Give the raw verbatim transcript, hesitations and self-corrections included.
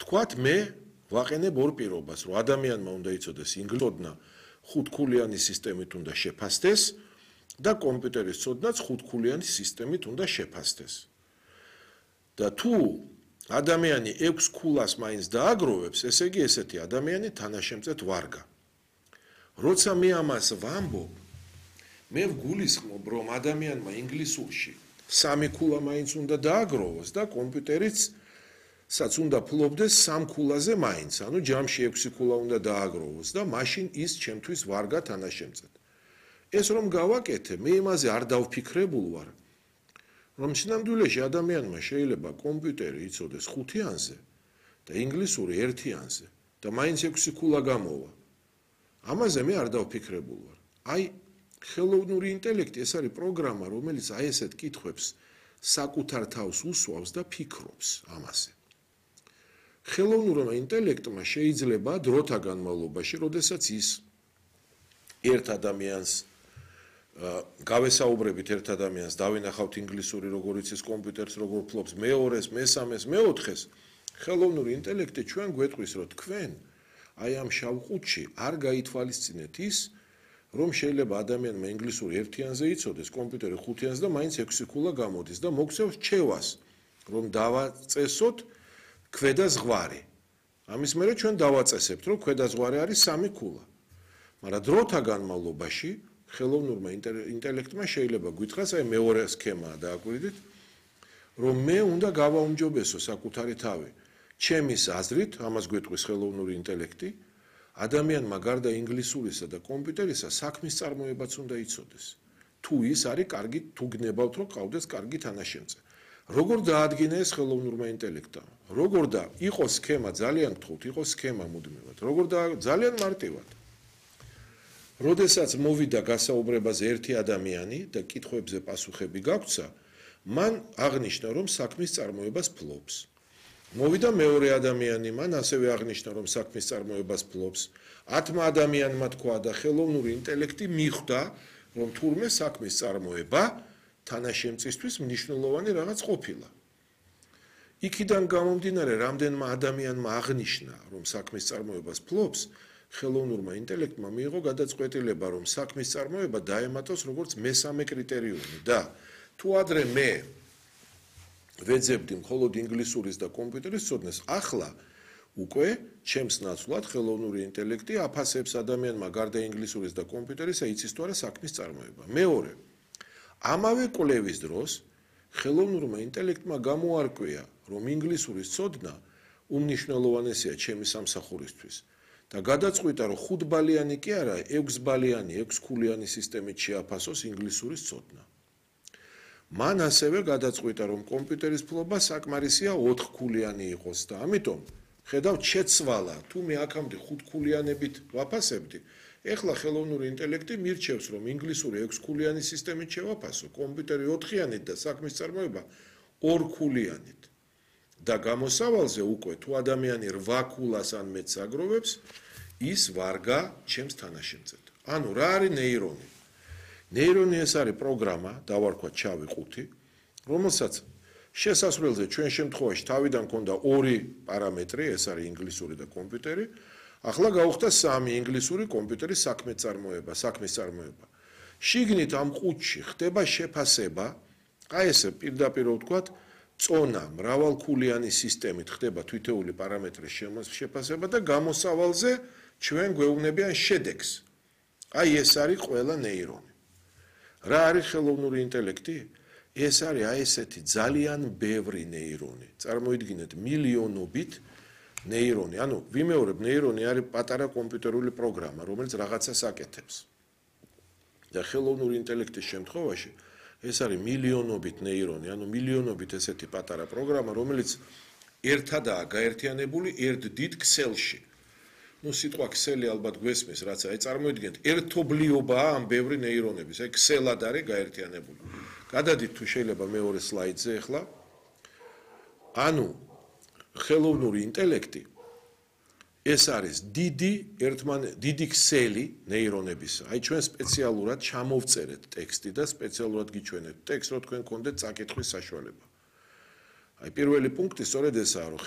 ვთქვათ, მე ვაყენებ ორ პირობას, რომ ადამიანმა უნდა იცოდეს ინგლისურნა ხუთქულიანი სისტემით უნდა შეფასდეს და კომპიუტერის ცოდნაც ხუთქულიანი სისტემით უნდა შეფასდეს. და თუ ადამიანი ექვს ქულას მაინც დააგროვებს, ესე იგი ესეთი ადამიანი თანაშემწედ ვარგა. როცა მე ამას ვამბობ, მე ვგულისხმობ, რომ ადამიანმა ინგლისურში სამი ქულა მაინც უნდა დააგროვოს და კომპიუტერიც საც უნდა ფლობდეს სამ ქულაზე მაინც, ანუ ჯამში ექვსი ქულა უნდა დააგროვოს და მაშინ ის ჩემთვის ვარგა თანაშემწედ. ეს რომ გავაკეთე, მე იმაზე არ დავფიქრებულ ვარ, რომ შინამდვილეში ადამიანმა შეიძლება კომპიუტერი იცოდეს ხუთიანზე და ინგლისური ერთიანზე და მაინც ექვსი ქულა გამოვა. ამაზე მე არ დავფიქრებულ ვარ. აი, ხელოვნური ინტელექტი ეს არის პროგრამა, რომელიც აი ესეთ კითხვებს საკუთარ თავს უსვავს და ფიქრობს ამაზე. ხელოვნურმა ინტელექტმა შეიძლება დროთა განმავლობაში, როდესაც ის ერთ ადამიანს გავესაუბრებით ერთ ადამიანს, დავინახავთ ინგლისური, როგორ იცის კომპიუტერს, როგორ ფლობს, მეორეს, მესამეს, მეოთხეს, ხელოვნური ინტელექტი ჩვენ გვეტყვის, რომ თქვენ აი ამ შავ ყუთში არ გაითვალისწინეთ ის, რომ შეიძლება ადამიანმა ინგლისური ერთიანზე იცოდეს, კომპიუტერი ხუთიანზე და მაინც ექვსი ქულა გამოდის და მოგცევს რჩევას, რომ დავაწესოთ ქვედა ზღვარი. ამის მერე ჩვენ დავაწესებთ, რომ ქვედა ზღვარი არის სამი ქულა. მაგრამ დროთა განმავლობაში ხელოვნურმა ინტელექტმა შეიძლება გითხრას, აი მეორე სქემაა დააკვირდით, რომ მე უნდა გავაუმჯობესო საკუთარი თავი. ჩემის აზრით, ამას გვეტყვის ხელოვნური ინტელექტი, ადამიანმა გარდა ინგლისურისა და კომპიუტერისა საქმის წარმოებაც უნდა იცოდეს. თუ ის არის კარგი, თუ გნებავთ, რომ ყავდეს კარგი თანაშემწე. როგორ დაადგინა ეს ხელოვნურმა ინტელექტამ? როგორ და იყოს სქემა ძალიან გთხოვთ, იყოს სქემა მუდმივად. როგორ და ძალიან მარტივად. როდესაც მოვიდა გასაუბრებაზე ერთი ადამიანი და კითხვებზე პასუხები გაგვცა, მან აღნიშნა, რომ საქმის წარმოებას ფლობს. მოვიდა მეორე ადამიანი, მან ასევე აღნიშნა, რომ საქმის წარმოებას ფლობს. ათმა ადამიანმა თქვა და ხელოვნური ინტელექტი მიხვდა, რომ თურმე საქმის წარმოება თანაშემწისთვის მნიშვნელოვანი რაღაც ყოფილა. იქიდან გამომდინარე, რამდენმა ადამიანმა აღნიშნა, რომ საქმის წარმოებას ფლობს, ხელოვნურმა ინტელექტმა მიიღო გადაწყვეტილება, რომ საქმის წარმოება დაემატოს როგორც მესამე კრიტერიუმი და თუ ადრე მე ვეძებდი მხოლოდ ინგლისურის და კომპიუტერის ცოდნას, ახლა უკვე ჩემს ნაცვლად ხელოვნური ინტელექტი აფასებს ადამიანმა გარდა ინგლისურის და კომპიუტერისა იცის თუ არა საქმის წარმოება. მეორე, ამავე კვლევის დროს ხელოვნურმა ინტელექტმა გამოარკვია, რომ ინგლისურის ცოდნა უმნიშვნელოვანესია ჩემი სამსახურისთვის და გადაწყვიტა, რომ ხუთბალიანი კი არა, ექვსბალიანი, ექვსქულიანი სისტემით შეაფასოს ინგლისურის ცოდნა. მან ასევე გადაწყვიტა, რომ კომპიუტერის ფლობა საკმარისია ოთხქულიანი იყოს და ამიტომ ხედავთ შეცვალა, თუ მე აქამდე ხუთქულიანებით ვაფასებდი, ეხლა ხელოვნური ინტელექტი მირჩევს, რომ ინგლისური ექვსქულიანი სისტემით შევაფასო, კომპიუტერი ოთხიანით და საქმის წარმოება ორქულიანით. და გამოსავალზე უკვე თუ ადამიანი რვა ქულას ან მეტს აგროვებს, ის ვარგა ჩემს თანაშემწედ. ანუ რა არის ნეირონი? ნეირონი ეს არის პროგრამა, დავარქვათ შავი ყუთი, რომელსაც შესასვლელზე ჩვენ შემთხვევაში თავიდან ქონდა ორი პარამეტრი, ეს არის ინგლისური და კომპიუტერი, ახლა გავხდა სამი ინგლისური კომპიუტერის საქმე წარმოება, საქმის წარმოება. შიგნით ამ ყუთში ხდება შეფასება, აი ესე პირდაპირ ვთქვათ, წონა მრავალქულიანი სისტემით ხდება თითოეული პარამეტრის შეფასება და გამოსავალზე ჩვენ გვეუბნებიან შედეგს. აი ეს არის ყველა ნეირონი. რა არის ხელოვნური ინტელექტი? ეს არის აი ესეთი ძალიან ბევრი ნეირონი. წარმოიდგინეთ მილიონობით ნეირონი. ანუ ვიმეორებ, ნეირონი არის პატარა კომპიუტერული პროგრამა, რომელიც რაღაცას აკეთებს. და ხელოვნური ინტელექტის შემთხვევაში ეს არის მილიონობით ნეირონი, ანუ მილიონობით ესეთი პატარა პროგრამა, რომელიც ერთადაა გაერთიანებული ერთ დიდ ქსელში. ნუ სიტყვა ქსელი ალბათ გვესმის, რაც აი წარმოიდგინეთ, ერთობლიობაა ამ ბევრი ნეირონების, აი ქსელად არის გაერთიანებული. გადადით თუ შეიძლება მეორე სლაიდზე ახლა. ანუ ხელოვნური ინტელექტი ეს არის დიდი ერთმან დიდი ქსელი ნეირონებისა. აი ჩვენ სპეციალურად ჩამოვწერეთ ტექსტი და სპეციალურად გიჩვენეთ ტექსტს, რომ თქვენ გქონდეთ წაკითხვის საშუალება. აი პირველი პუნქტი სწორედ ესაა, რომ